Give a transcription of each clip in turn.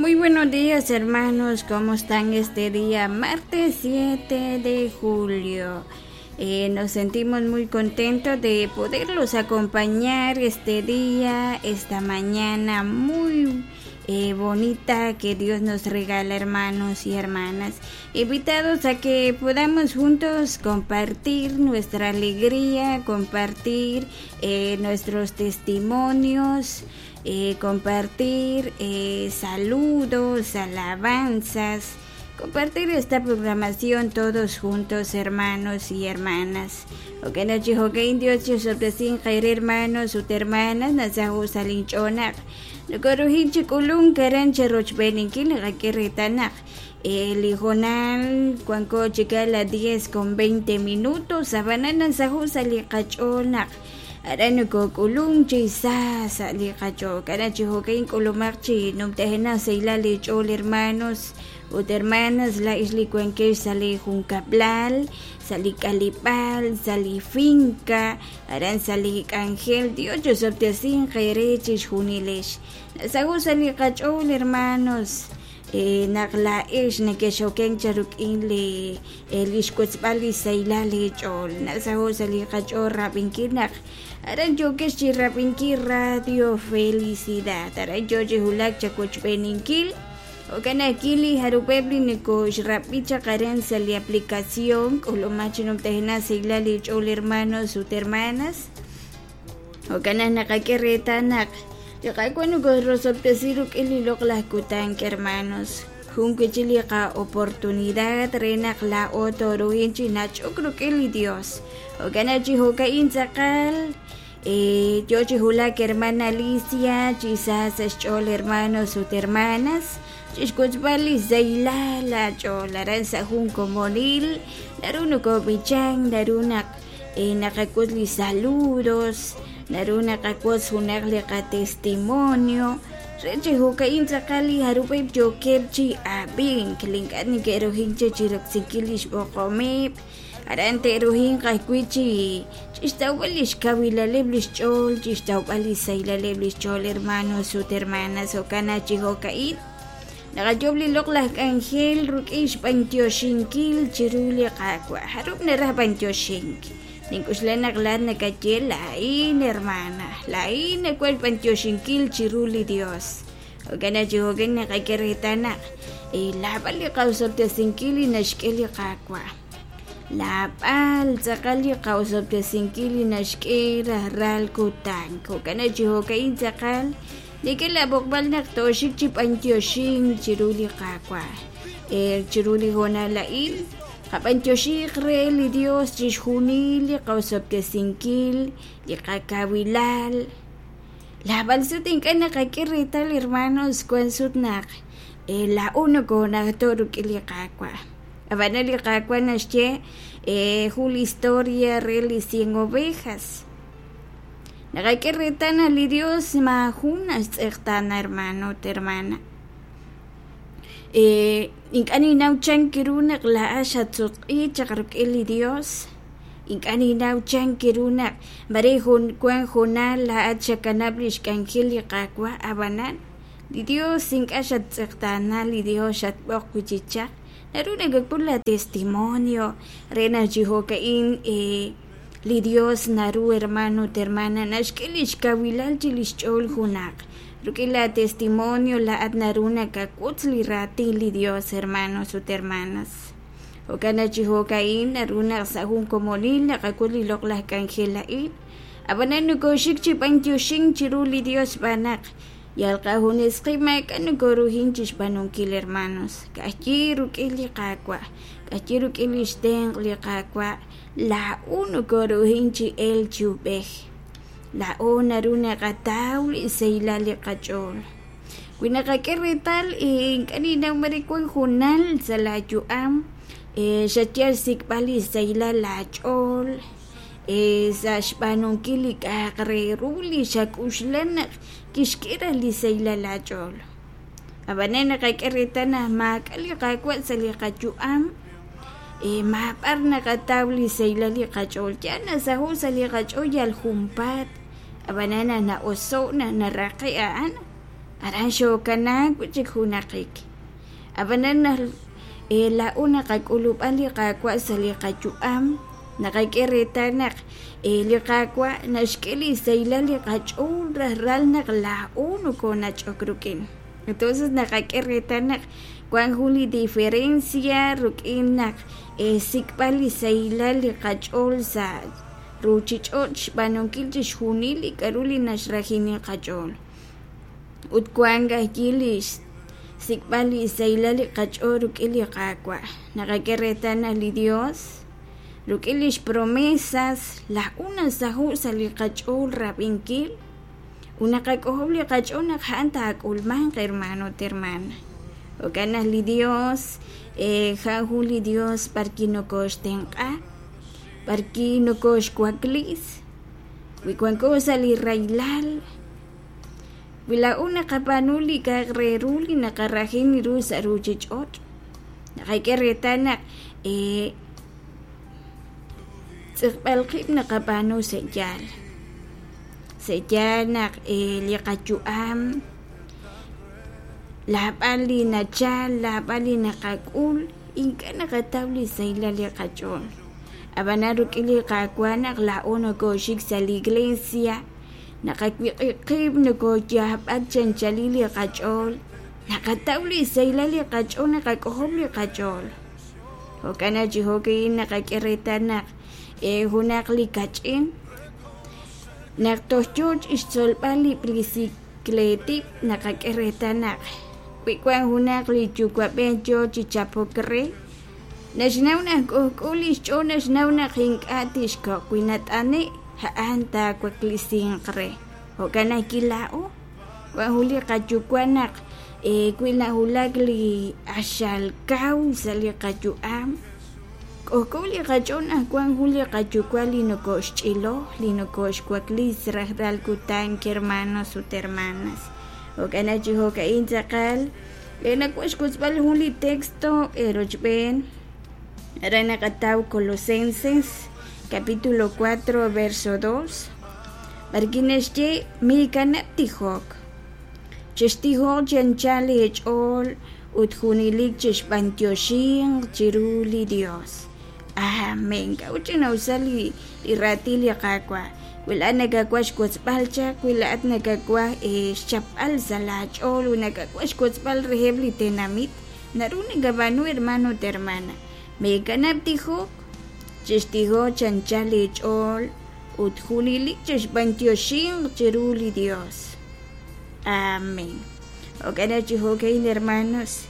Muy buenos días, hermanos, ¿cómo están este día? Martes 7 de julio. Nos sentimos muy contentos de poderlos acompañar este día, esta mañana muy bonita que Dios nos regala, hermanos y hermanas. Invitados a que podamos juntos compartir nuestra alegría, compartir nuestros testimonios, compartir saludos, alabanzas, compartir esta programación todos juntos, hermanos y hermanas. Hermanos, hermanas, li hoonal wanko chik a las 10:20 ab'anan nasaho' sa' li qach'ool naq aran nokok'ulunk chi sa sa' li qach'ool k'ara chi jo'kan k'ulumaq chi numtajenaq sahilal li ch'ool, hermanos ut hermanas, laa'ex li wankex sa' li junkab'lal, sa' li k'aleb'aal, sa' li finca, aran sa' li k'anjel. Dios chosob'tesinq eere chixjunilex. Nasaho' sa' li qach'ool, hermanos, naq laa'ex nekexokenk cha rik'in li xwotzb'al li sahilal eech'ool. Nasaho' sa' li qach'ool rab'inkil naq aran yookex chi rab'inkil Radio Felicidad, aran yo chi wulak chawochb'eeninkil. Jo'kan ajwi' li jarub'eb' li nokoxrab'i chaq aran sa' li aplicación k'ulumaq chi numtajenaq sahilal eech'ool, hermanos ut hermanas. Jo'kan naq naqak'e reetal naq li Qaawa' nokorosob'tesi rik'in li loq'laj kutan, hermanos. Jun wi' chik li qa'oportunidad re naq laa'o tooruhin chi nach'ok rik'in li Dios. Jo'kan naq chi jo'ka'in tz'aqal yo chi wulak hermana Alicia chi sa sa' xch'ool, hermanos ut hermanas, chixwotzb'al li sahilal aach'ool aran sa' jun komonil. Naru nokob'ichank, naru naq naqawotz li saludos, naru naqawotz junaq li qatestimonio re chi jo'ka'in tz'aqal li jarub'eb' yookeb' chi ab'ink li ink'a' neke'rujink chi roksinkil li xb'oqomeb', aran te'rujinq ajwi' chi chixtawb'al li xkawilaleb' li xch'ool, chixtawb'al li sahilaleb' li xch'ool, hermanos ut hermanas. Jo'kan naq chi jo'ka'in naqayoob' li loq'laj k'anjel rik'in xb'antioxinkil chiru li Qaawa'. Jarub' naraj b'antioxink? Nink'uxla naq laa'at nakaye: laa'in, hermana, laa'in nawaj xb'antioxinkil chiru li Dios. Jo'kan naq chi jo'kan naqak'e reetal naq laab'al li qaosob'tesinkil li naxk'e li Qaawa'. Laab'al tz'aqal li qaosob'tesinkil li naxk'e rajlal kutan. Jo'kan naq chi jo'ka'in tz'aqal nik'e laab'oqb'al naq tooxik chi b'antioxink chiru li Qaawa'. Chiru li hoonal a'in qab'antioxiq re li Dios chixjunil li qaosob'tesinkil, li qakawilal. Laab'al sut ink'a' naqak'e reetal, hermanos, wan sut naq laa'o nokonajto' rik'in li Qaawa'. Ab'anan li Qaawa' naxye jun li historia re li 100 ovejas. Naqak'e reetal naq li Dios maajun naxtz'eqtaana, hermano ut hermana. Ink'a' ninnaw chan ru naq laa'at xatsutq'i chaq rik'in li Dios. Ink'a' ninnaw chan ru naq mare wan hoonal laa'at xakanab' li xk'anjel li Qaawa', ab'anan li Dios ink'a' xattz'eqtaana, li Dios xatb'oq wi' chi chaq. Naru nakak'ul la testimonio re naq chi jo'ka'in li Dios naru, hermano ut hermana, naxk'e li xkawilal chi li xch'ool junaq. Rik'in la testimonio laa'at naru nakawotz li raatin li Dios, hermanos ut hermanas. Jo'kan naq chi jo'ka'in naru naq sa' jun komonil naqak'ul li loq'laj k'anjel a'in. Ab'anan nokoxik chi b'antioxink chiru li Dios xb'aan naq yal qajunes qib' maak'a' nokoruhin chi xb'aanunkil, hermanos. Ka'ajwi' rik'in li Qaawa', ka'ajwi' rik'in li xtenq' li Qaawa', laa'o nokoruhin chi elk chi ub'ej. Laa'o naru naqataw li sahilal li qach'ool. Wi naqak'e reetal, ink'a' ninnaw mare wan hoonal sa' laayu'am xayal xsik'b'al li sahilal laach'ool sa' xb'aanunkil li k'a'aq re ru li xak'uxla naq kixk'e raj li sahilal laach'ool. Ab'anan naqak'e reetal naq maak'a' li Qaawa' sa' li qayu'am, maab'ar naqataw li sahilal li qach'ool. Yal nasaho' sa' li qach'ool yal junpaat, ab'anan naq na'oso' naq naraqe' a'an. Aran xookanaak wi' chik junaqik. Ab'anan naq laa'o naqak'ulub'a li Qaawa' sa' li qayu'am, naqak'e reetal naq li Qaawa' naxk'e li sahilal li qach'ool rajlal naq laa'o nokoonach'ok rik'in. Entonces naqak'e reetal naq wank jun li diferencia rik'in naq xsik'b'al li sahilal li qach'ool sa' ruuchich'och' xb'aanunkil chixjunil li k'aru li naxrajini qach'ool. Ut wank ajwi' li xsik'b'al li sahilal li qach'ool rik'in li Qaawa'. Naqak'e reetal naq li Dios rik'in li xpromesas laa'o nasaho' sa' li qach'ool rab'inkil ut naqak'ojob' li qach'ool naq a'an taak'ulmanq hermano ut hermana. Jo'kan naq li Dios a'an jun li Dios b'arwi' nokooxtenq'a, b'arwi' nokooxwaklis wi wanko sa' li rahilal. Wi laa'o naqab'aanu li k'a'aq re ru li naqarajin ru sa' ruuchich'och', naqak'e reetal naq tz'iqb'al qib' naqab'aanu sa' yaal. Sa' yaal naq li qayu'am laab'al li nachal, laab'al li naqak'ul, ink'a' naqataw li sahilal li qach'ool. Ab'anan rik'in li Qaawa' naq laa'o nokooxik sa' li iglesia, naqawiq'ib' qib' nokooyaab'ak chi anchalil li qach'ool, naqataw li sahilal li qach'ool, naqak'ojob' li qach'ool. Jo'kan naq chi jo'ka'in naqak'e reetal naq junaq li kach'in naq toj yoo chixtzolb'al li bicicletib' naqak'e reetal naq wi wank junaq li yuwa'b'ej yoo chi chapok re, naxnaw naq k'ojk'o li xch'ool, naxnaw naq ink'a' tixkoq', wi nat'ane' a'an taawaklisinq re. Jo'kan ajwi' laa'o wank jun li qayuwa' naq wi nawulak li q'axal kaw sa' li qayu'am, k'ojk'o li qach'ool naq wank jun li qayuwa' li nokooxch'ilo, li nokooxwaklis rajlal kutan, hermanos ut hermanas. Jo'kan naq chi jo'ka'in tz'aqal nawaj xwotzb'al jun li texto eerochb'een aran naqataw Colosenses capítulo 4 verso 2 b'arwi' naxye miikanab' tijok, chextijoq chi anchal eech'ool ut junelik chexb'antioxinq chiru li Dios. Amén. K'a'ut ch'ina'usal li raatin li Qaawa'? Wi laa'at nakawaj xwotzb'al chaq, wi laa'at nakawaj xchapb'al sa' laach'ool ut nakawaj xwotzb'al reheb' li tenamit, naru nakab'aanu hermano ut hermana. Meekanab' tijok, chextijoq chi anchal eech'ool ut junelik chexb'antioxinq chiru li Dios. Amén. Jo'kan naq chi jo'ka'in hermanos,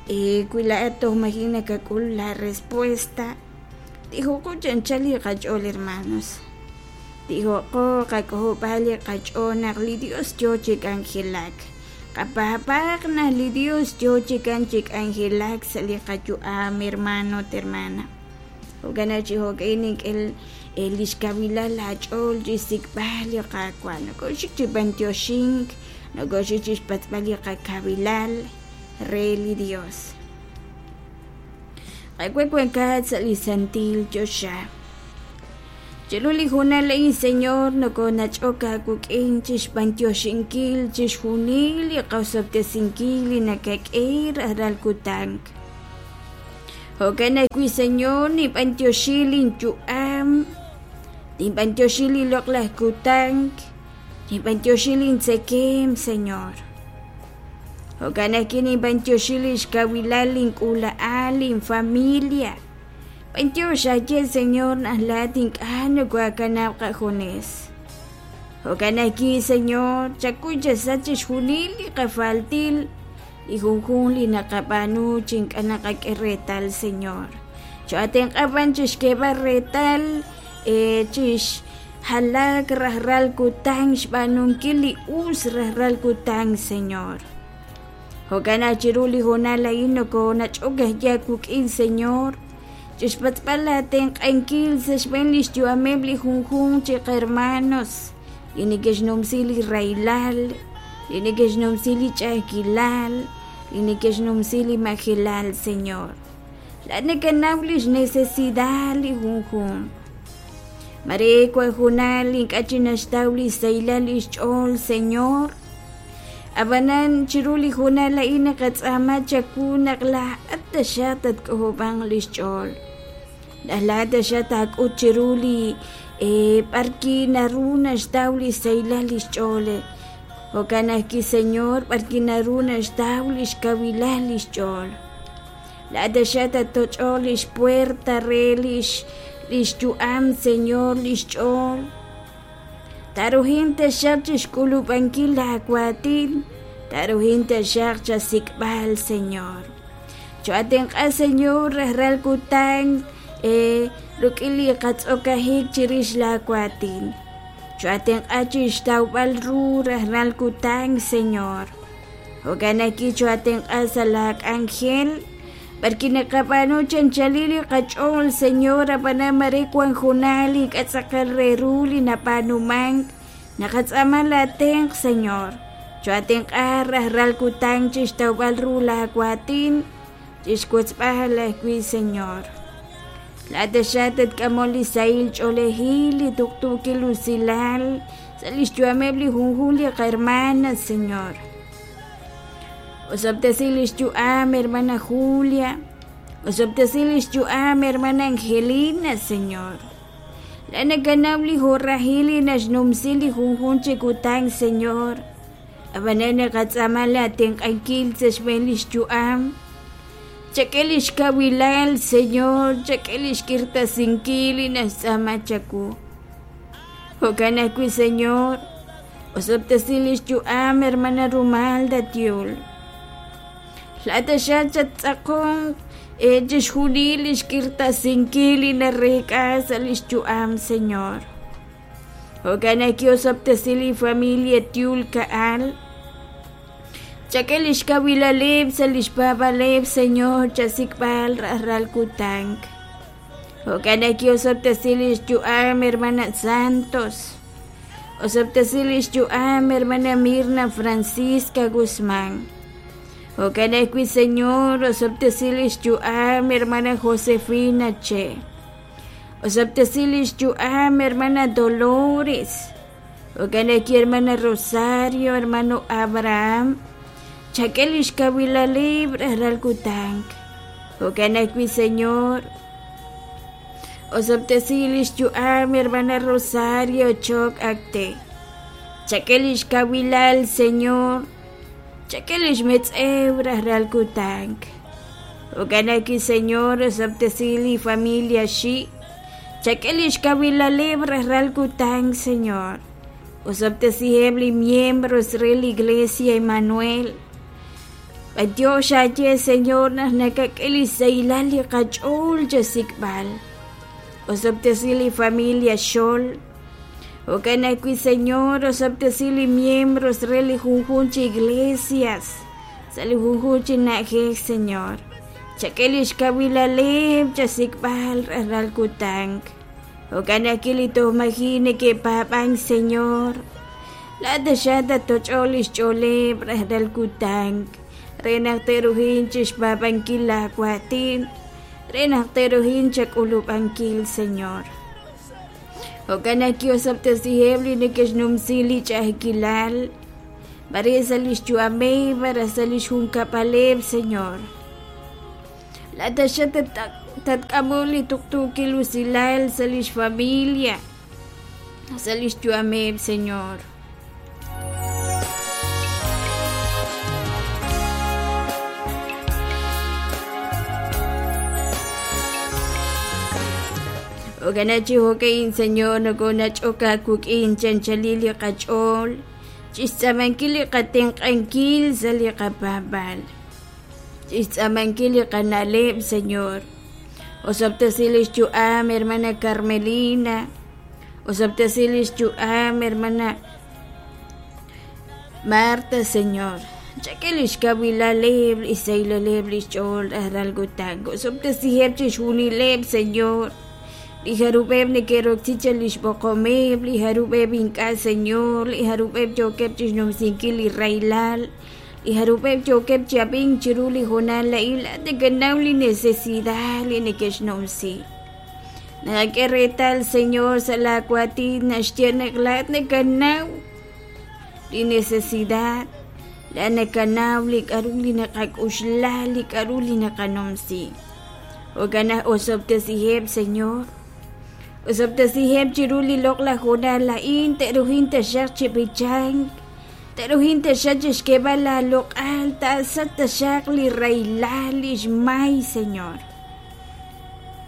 wi laa'at toj maji' nakak'ul la respuesta, tijoqo chi anchal li qach'ool hermanos. Tijoqo qak'ojob'al li qach'ool naq li Dios yoo chi k'anjelak. Qapaab'aaq naq li Dios yoo chikan chi k'anjelak sa' li qayu'am hermano ut hermana. Jo'kan naq chi jo'ka'in nink'e li xkawilal laach'ool chi xsik'b'al li Qaawa'. Nokooxik chi b'antioxink, nokooxik chi xpatz'b'al li qakawilal re li Dios. Qaawa' wankat sa' li santil choxa. Chiru li hoonal a'in, Señor, nokoonach'ok aawik'in chi xb'antioxinkil chixjunil li qosob'tesinkil li nakak'e rajlal kutan. Jo'kan ajwi', Señor, ninb'antioxi linyu'am, ninb'antioxi li loq'laj kutan, ninb'antioxi lintzekeem, Señor. Jo'kan ajwi' ninb'antioxi li xkawilal link'uula'al, linfamilia. B'antiox aaye, Señor, naq laa'at ink'a' nokooakanab' qajunes. Jo'kan ajwi', Señor, chakuy chasach chixjunil li qafaltil, li junjunq li naqab'aanu chi ink'a' naqak'e reetal, Señor. Choo'atenq'a b'an chixk'eeb'al reetal chixjalak rajlal kutan xb'aanunkil li us rajlal kutan, Señor. Jo'kan naq chiru li hoonal a'in nokoonach'ok ajwi' aawik'in, Señor, chixpatz'b'al aatenq'ankil sa' xb'een lix yu'ameb' li junjunq chi qhermanos li neke'xnumsi li rahilal, li neke'xnumsi li ch'a'ajkilal, li neke'xnumsi li majelal, Señor. Laa'at nakanaw lix necesidad li junjunq. Mare wan junaq li ink'a' chi naxtaw li sahilal lix ch'ool, Señor. Ab'anan chiru li hoonal a'in naqatz'aama chawu naq laa'at taxaq tatk'ojob'anq li xch'ool. Naq laa'at taxaq taak'ut chiru li b'arki naru naxtaw li xsahilal li xch'ool. Jo'kan ajwi', Señor, b'arki naru naxtaw li xkawilal li xch'ool. Laa'at taxaq tattoch'oq li xpuerta re li xyu'am, Señor, li xch'ool. Taruhin taxaq chixk'ulub'ankil laawaatin, taruhin taxaq chasik'b'al, Señor. Cho'atenq'a, Señor, rajlal kutan rik'in li qatz'okajik chirix laawaatin. Cho'atenq'a chixtawb'al ru rajlal kutan, Señor. Jo'kan ajwi' cho'atenq'a sa' laak'anjel, b'arki naqab'aanu chanchalil li qach'ool, Señor, ab'anan mare wan junaq li k'atz'aqal re ru li nab'aanumank, naqatz'aama laatenq', Señor. Cho'atenq'a rajlal kutan chixtawb'al ru laawaatin, chixwotzb'al ajwi', Señor. Laa'at taxaq tatk'amol li sahil ch'oolejil, li tuqtuukil usilal sa' li xyu'ameb' li junjunq li qahermana, Señor. Osob'tesi li xyu'am, hermana Julia. Osob'tesi li xyu'am, hermana Angelina, Señor. Laa'at nakanaw li horahil li naxnumsi li junjunq chi kutan, Señor. Ab'anan naqatz'aama laatenq'ankil sa' xb'een li xyu'am. Chak'e li xkawilal, Señor, chak'e li xk'irtasinkil li naxtz'aama chawu. Jo'kan ajwi', Señor, osob'tesi li xyu'am, hermana Rumalda Tiul. Laa'at taxaq chattz'aqonq chixjunil li xk'irtasinkil li nareek'a sa' li xyu'am, Señor. Jo'kan ajwi' osob'tesi li familia Tiul Ka'al. Chak'e li xkawilaleb' sa' li xpaab'aleb', Señor, chasik'b'al rajlal kutan. Jo'kan ajwi' osob'tesi li xyu'am, hermana Santos. Osob'tesi li xyu'am, hermana Mirna Francisca Guzmán. Jo'kan ajwi', Señor, osob'tesi li xyu'am, hermana Josefina Che. Osob'tesi li xyu'am, hermana Dolores. Jo'kan ajwi', hermana Rosario, hermano Abraham. Chak'e li xkawilaleb' rajlal kutan. Jo'kan ajwi', Señor, osob'tesi li xyu'am, hermana Rosario Choc Acte. Chak'e li xkawilal, Señor. Chak'e li xmetz'ew rajlal kutan. Jo'kan ajwi', Señor, osob'tesi li familia Xi'. Chak'e li xkawilaleb' rajlal kutan, Señor. Osob'tesiheb' li miembros re li Iglesia Emmanuel. B'antiox aaye, Señor, naq nakak'e li sahilal li qach'ool chasik'b'al. Osob'tesi li familia Xol. Jo'kan ajwi', Señor, osob'tesi li miembros re li junjunq chi iglesias sa' li junjunq chi na'ajej, Señor. Chak'e li xkawilaleb' chasik'b'al rajlal kutan. Jo'kan ajwi' li toj maji' neke'paab'ank, Señor. Laa'at taxaq tattoch'oq li xch'ooleb' rajlal kutan re naq te'ruhin chixpaab'ankil laawaatin, re naq te'ruhin chak'ulub'ankil, Señor. Jo'kan ajwi' osob'tesiheb' li neke'xnumsi li ch'a'ajkilal, mare sa' li xyu'ameb' malaj sa' li xjunkab'aleb', Señor. Laa'at taxaq tatk'amoq li tuqtuukil usilal sa' li xfamilia, sa' li xyu'ameb', Señor. Jo'kan chi jo'ka'in, Señor, nokonach'ok aawik'in chanchalil li qach'ool chixtz'aamankil li qatenq'ankil sa' li qapaab'aal, chixtz'aamankil li qana'leb', Señor. Osob'tesi li xyu'am, hermana Carmelina. Osob'tesi li xyu'am, hermana Marta, Señor. Chak'e li xkawilaleb', li xsahilaleb' li xch'ool rajlal kutan. Osob'tesiheb' chixjunileb', Señor. Li jarub'eb' neke'roksi chaq li xb'oqomeb', li jarub'eb' ink'a', Señor, li jarub'eb' yookeb' chixnumsinkil li rahilal, li jarub'eb' yookeb' chi ab'ink chiru li hoonal a'in, laa'at nakanaw li necesidad li neke'xnumsi. Naqak'e reetal, Señor, sa' laa waatin naxye naq laa'at nakanaw li necesidad. Laa'at nakanaw li k'a'ru li naqak'oxla, li k'a'ru li naqanumsi. Jo'kan naq osob'tesiheb', Señor. Osob'tesiheb' chiru li loq'laj hoonal a'in, te'ruhin taxaq chi b'ichank, te'ruhin taxaq chixk'eeb'al aaloq'al, taasach taxaq li rahilal, li xmay, Señor.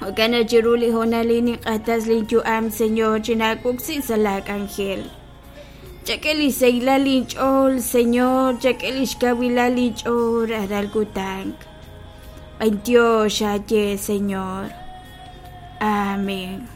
Jo'kan naq chiru li hoonal a'in ninq'axtes linyu'am, Señor, chinaawoksi sa' laak'anjel. Chak'e li xsahilal linch'ool, Señor, chak'e li xkawilal linch'ool rajlal kutan. B'antiox aaye, Señor. Amén.